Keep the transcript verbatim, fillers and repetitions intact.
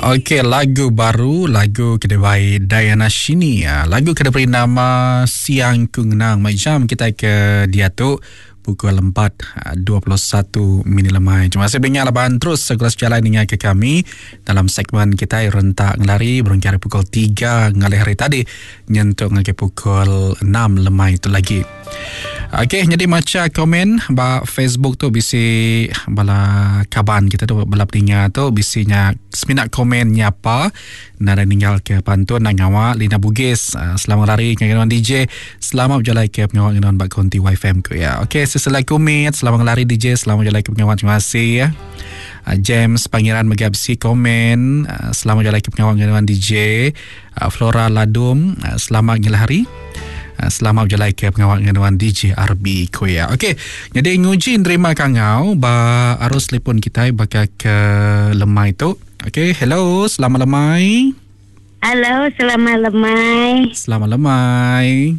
Okey, lagu baru, lagu ke dibai Diana Shini. Ah, lagu ke diberi nama Siang Ku Ngenang. Mai jam kita ke diatu pukul empat dua puluh satu minit lemai. Terima kasih banyak laban terus segera sejalai dengan ke kami dalam segmen kita rentak ngelari berengkah hari pukul tiga ngalih hari tadi nyentuk ngagai pukul enam lemai itu lagi. Okey, jadi maca komen ba Facebook tu bisi bala kaban kita tu bala peninga tu bisinya semina komen nyapa nada ninggal ke pantun nak ngawak Lina Bugis. Selamat lari dengan D J, selamat berjalan ke pengawak dengan bak konti Y F M ku ya. Okey, seselai kumit, selamat lari D J, selamat berjalan ke pengawak, terima kasih ya. James Pangeran Megabsi komen, selamat berjalan ke pengawak dengan D J. Flora Ladum, selamat ngelahari. Selamat berjalan ke pengawak dengan D J R B Koya. Okey, jadi nguji nerima kangau ba arus telefon kita bakal ke lemai tu. Okey, hello, selamat lemai. Halo, selamat lemai. Selamat lemai.